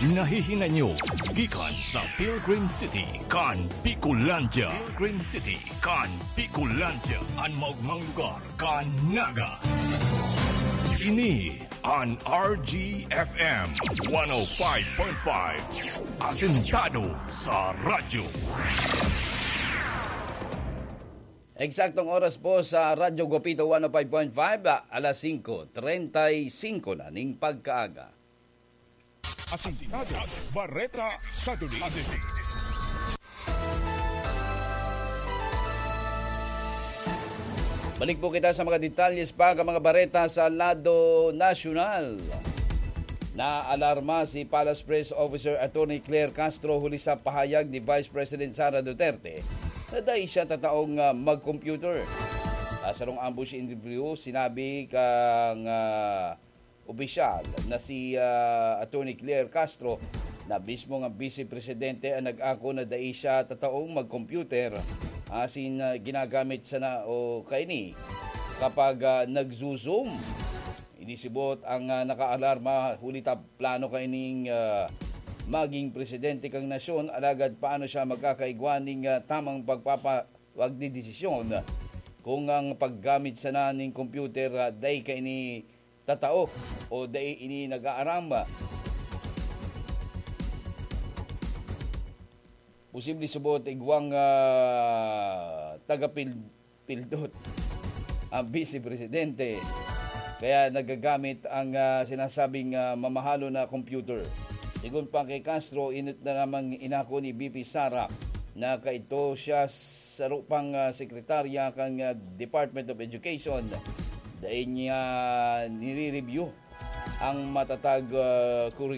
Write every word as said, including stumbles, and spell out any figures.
Nahihinanyo gikan sa Pilgrim City kan Bicolandia. Pilgrim City kan Bicolandia, an maogmang lugar kan Naga. Ini an R G F M one oh five point five, asentado sa radyo. Eksaktong oras po sa Radyo Guapito one oh five point five, alas singko treinta y cinco na ning pagkaaga. Asintado, Bareta sa Duli. Balik po kita sa mga detalles pa kan mga bareta sa lado nasyonal. Naalarma si Palace Press Officer Attorney Claire Castro huli sa pahayag ni Vice President Sara Duterte na dai siya tataong, ah, mag-computer. Sa sarong ambush interview, sinabi kan, ah, opisyal na si, ah, Attorney Claire Castro na mismo nga Vice Presidente ang nag-ako na dai siya tataong mag-computer, asin, ah, ginagamit sana o kaini kapag, ah, nagzo-Zoom. Inisibot ang, ah, nakaalarma huli ta plano kaining, ah, maging presidente kan nasyon, alagad paano siya magkakaigwa ning, ah, tamang pagpapa-, pagdedesisyon kung ang paggamit sana ning computer, ah, dai kaini tatao o dai ini nag-aaram? Posible subot igwang, ah, tagapil-, pildot ang Vice Presidente. Kaya nagagamit ang, ah, sinasabing, ah, mamahalon na computer. Sigon pa kay Castro, inot na namang inako ni V P Sara na kaito siya saro pang, ah, sekretarya kan, ah, Department of Education. Dai niya nire-review ang matatag, ah,